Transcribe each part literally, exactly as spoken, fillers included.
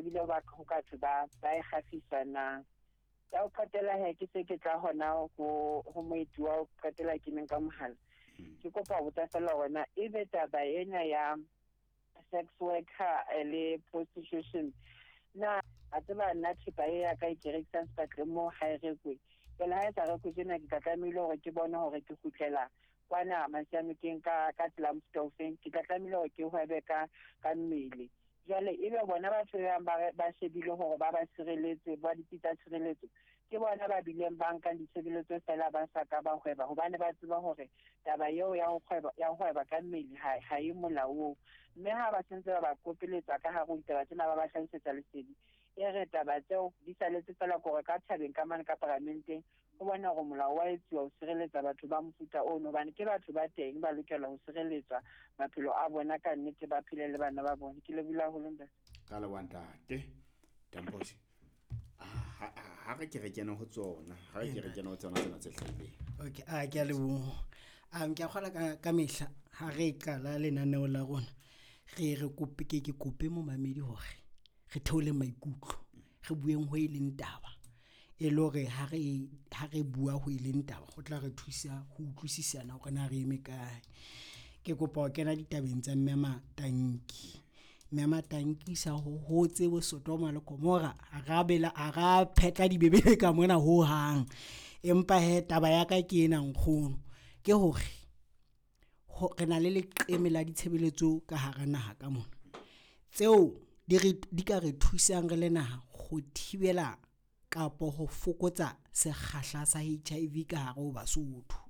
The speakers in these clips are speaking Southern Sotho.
tobile ba ho ka thwe ba ba e kgafisa na. Ya ho qetela he, ke se ke tla hona ho ho moeti wa ho qetela ke neng ka mohala. Ke kopa ho botsa fela hore na ebe taba ena ya sex worker eh, le prostitution na, a tseba nna thepa e ya ka e ke rekisang sepatleng moo ha e rekwe. Jwale ha e sa rekwe tjena, ke tla tlamehile hore ke bone hore ke kgutlela kwana Masianokeng ka ka tsela mofuta ofeng. Ke tla tlamehile hore ke hwebe ka ka mmele. Jwale ebe bona batho ba bang ba re- ba shebile hore ba ba sireletse, ba ditsi tsa tshireletso, ke bona ba bileng ba nkang ditshebeletso fela ba sa ka ba hweba, hobane ba tseba hore taba eo ya ho kgweba ya ho hweba ka mmele ha ha e molaong. Mme ha ba sentse ba ba kopeletsa ka hare ho ditaba tsena, ba ba hlahisetsa lesedi, e re taba tseo di saletse fela kore ka thabeng ka mane ka paramenteng ho bona hore molao wa etsuwa ho sireletsa batho ba mofuta ono, hobane ke batho ba teng ba lokela ho sireletswa maphelo a bona ka nnete, ba phele le bana ba bona. Ke lebohile haholo, ntate. Ka leboha, ntate Tampos. Ha ha re ke re kene ho tsona, ha re ke re kene ho tsona tsena tse hlahileng. Okay, a ke a leboha. um ke a kgola ka ka mehla ha re qala lenaneo la rona, re re kope, ke ke kope momamedi hore re theole maikutlo, re bueng ho e leng taba, e le hore ha re ha re bua ho e leng taba, ho tla re thusa ho utlwisisana hore na re eme kae. Ke kopa ho kena ditabeng tsa mme Matanki. Mme Matanki sa ho hotse bo Sodoma le Gomora, ha ra bela, ha ra phetla dibebele ka mona ho hang. Empa he, taba ya ka ke ena, nkgono, ke hore ho re na le leqeme la ditshebeletso ka hara naha ka mona, tseo di re di ka re thusang re le naha ho thibela kapo ho fokotsa sekgahla sa H I V ka hare ho Basotho.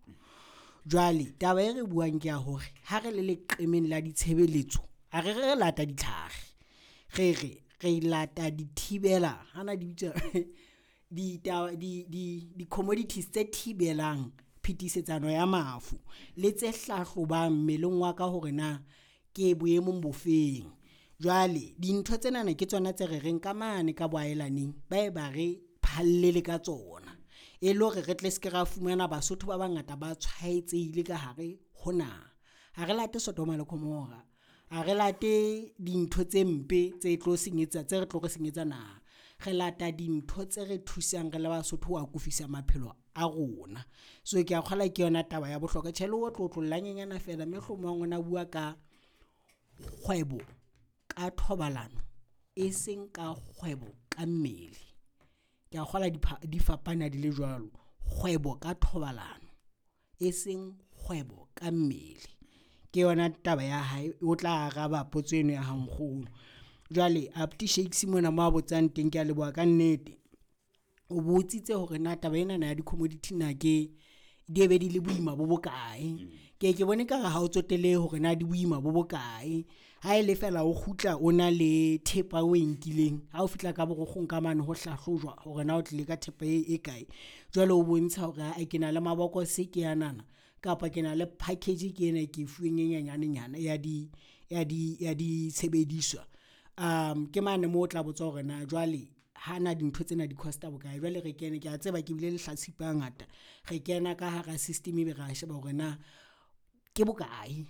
Jwale taba e re buang ke ya hore ha re le leqemeng la ditshebeletso, ha re re re lata ditlhare, re re re lata dithibela hana di bitswa ditaba di di di-commodities tse thibelang phetisetsano ya mafu le tse hlahlobang mmeleng wa ka hore na ke boemong bofeng. Jwale dintho tsenana ke tsona tse re reng ka mane ka boahelaneng ba e ba re phallele ka tsona, e le hore re tle se ke ra fumana Basotho ba bangata ba tshwaetsehile ka hare ho naha. Ha re late Sodoma le Gomora, ha re late dintho tse mpe tse tlo senyetsa, tse re tlo re senyetsa naha. Re lata dintho tse re thusang re le Basotho ho akofisa maphelo a rona. So ke a kgolwa ke yona taba ya bohlokwa. Tjhe, le ho otlolla nyenyana fela mme hlomong o na bua ka kgwebo ka thobalano, e seng ka kgwebo ka mmele. Ke a kgolwa di fapana di le jwalo, kgwebo ka thobalano e seng kgwebo ka mmele. Ke yona taba ya hae, o tla araba potso eno ya hao nkgono. Jwale abuti Shakes mona mo a botsang teng, ke a leboha ka nnete. O botsitse hore na taba enana ya di-commodity na ke di be di le boima bo bokae. Ke ke bone ekare ha o tsotelehe hore na di boima bo bokae, ha ele fela o kgutla o na le thepa o e nkileng. Ha o fihla ka borogo ka mane ho hlahlojwa hore na o tlile ka thepa e kae, jwale o bontsha hore aa ke na le mabokose ke anana, kapa ke na le package ke ena e ke e fuweng e nyenyane nyana ya di ya di ya ditshebediswa. Ke mane moo o tla botsa hore na jwale hana dintho tsena di cost-a bokae. Jwale re kene, ke a tseba ke bile lehlatsipa hangata, re kena ka hara system ebe ra sheba hore na ke bokae,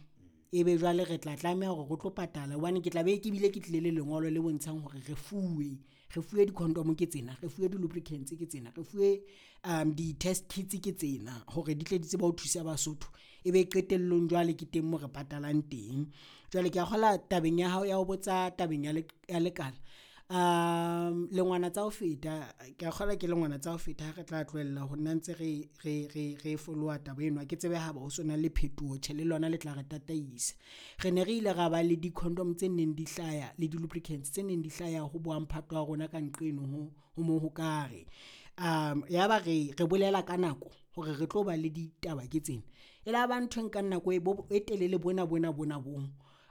ebe jwale re tla tlameha hore re tlo patala hobane ke tla be ke bile ke tlile le lengolo le bontshang hore re fuwe, re fuwe di-condom ke tsena, re fuwe di-lubricants ke tsena, re fuwe di-test kits ke tsena hore di tle di tsebe ho thusa Basotho. Ebe qetellong jwale ke teng moo re patalang teng. Jwale ke a kgolwa tabeng ya hao ya ho botsa tabeng ya ya lekala, lengwana tsa ho feta, ke a kgolwa ke lengwana tsa ho feta ha re tla tlohella ho nna ntse re re re re follower taba eno. Ha ke tsebe haeba ho sona le phetoho, tjhe le lona le tla re tataisa. Re ne re ile ra ba le di-condom tse neng di hlaya le di-lubricants tse neng di hlaya ho bo mphato wa rona ka nqeno ho ho Mohokare. Yaba re re bolela ka nako hore re tlo ba le ditaba ke tsena, e la ba ntho e nkang nako e bo e telele bona bona bona bo.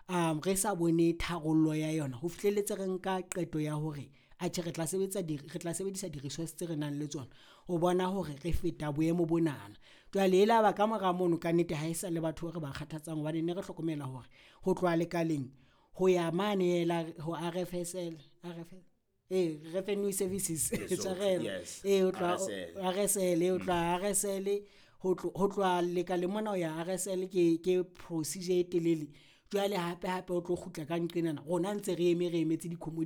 Re sa bone tharollo ya yona ho fihlelletse re nka qeto ya hore atjhe re tla sebetsa di re tla sebedisa di-resource tse re nang le tsona ho bona hore re feta boemo bonana. Jwale e laba ka mora mono kannete ha esale batho re ba kgathatsang hobane ne re hlokomela hore ho tloha lekaleng ho ya mane la ho R_F_S_L, R_F ee Revenue Services tshwarelo ee ho tloha R_S_L ho tloha R_S_L ho tloha lekaleng mona ho ya R_S_L ke ke procedure e telele. Jwale hape hape o tlo kgutla ka nqenana rona ntse re eme, re emetse .